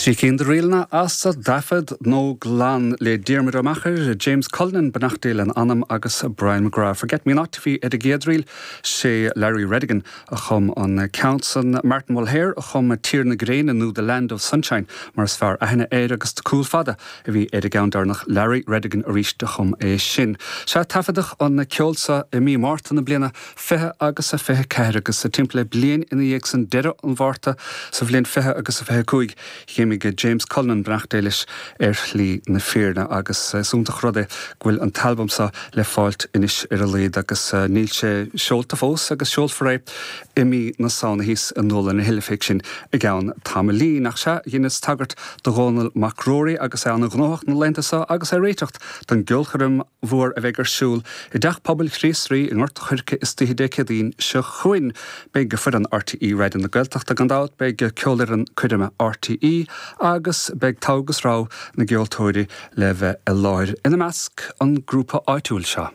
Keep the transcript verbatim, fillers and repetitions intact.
Trí cinn de ríleanna as an dtaifead Nó Glan le Diarmuid Ó Meachair, James Cullinan beannacht Dé lena anam agus Brian McGrath. Forget Me Not bhí ar an gcéad ríl sé Larry Redigan a chum an ceann san Martin Mulhare a chum Tír na Gréine nó The Land of Sunshine mar is fearr aithne air agus Cúl Fada a bhí ar an gceann deireanach Larry Redigan arís a chum é sin. Sea taifeadadh an ceol seo i mí Márta na bliana fiche agus a fiche ceathair agus sa timpeall le bliain ina dhiaidh san deireadh an Mhárta sa bhliain fiche agus a fiche cúig D'imigh James Cullinan beannacht Dé leis ar shlí na fírinne agus is iontach rud é go bhfuil an t-albam seo le fáilt anois ar a laghad agus níl sé seolta fós agus seolfar é i mí na Samhna thíos i nDúlann na hOilifigh sin i gceann tamaillín ach sea dheineas tagairt do Dhónall Mac Ruairí agus é an-ghnóthach na laethanta seo agus é ag réiteacht don gceolchoirm mhór a bheidh ar siúl i dTeach Pobail Chríost Rí i nGort an Choirce istoíche Dé Céadaoin seo chugainn. Beidh foireann RTÉ Raidió na Gaeltachta gan dabht beidh ceolfhoireann coirme RTÉ agus beidh togha agus rogha na gceoltóirí le bheith i láthair ina measc an grúpa áitiúil seo.